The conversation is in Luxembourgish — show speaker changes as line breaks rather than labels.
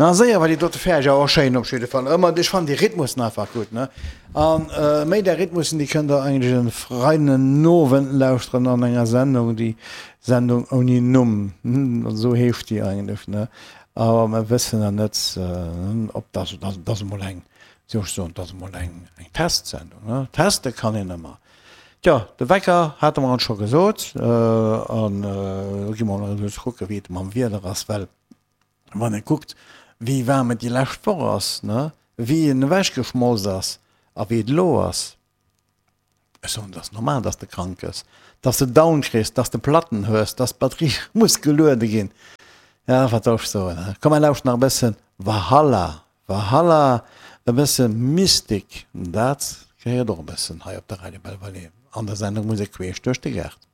Na séier war déi dote fäerdeg, awer schéin op jidde Fall. Ëmmer, ech fannen déi Rhythmussen einfach gutt, ne? An méi där Rhythmussen, déi kënnt der eigentlech en Freiden-Owend lauschteren an enger Sendung, déi Sendung ouni Numm, esou heescht déi eigentlech, ne? Awer mer wëssen nach net, ob dat, dat ass emol eng, wéi soll ech soen, dat ass emol eng, eng Testsendung, ne? Teste kann een ëmmer. Tjo, de Wecker hate mer ons scho gesot, an elo gi mer emol kucke wéi et mam Wieder ass, well Wann ee kuckt, wéi waarm et déi lescht Woch ass, ne, wéi en ewechgeschmolz ass a wéi et elo ass, ech soen, et ass normal, dass de krank gëss, dass de Down kriss, dass de Platten hues, dass d'Batterie muss geluede ginn. Ja, wat soll ech soen, he? Komm, mer lauschten nach e bëssen Valhalla, Valhalla, e bësse Mystik, dat gehéiert och e bëssen hei op de Radio Belval an der Sendung Musek queesch duerch de Gaart.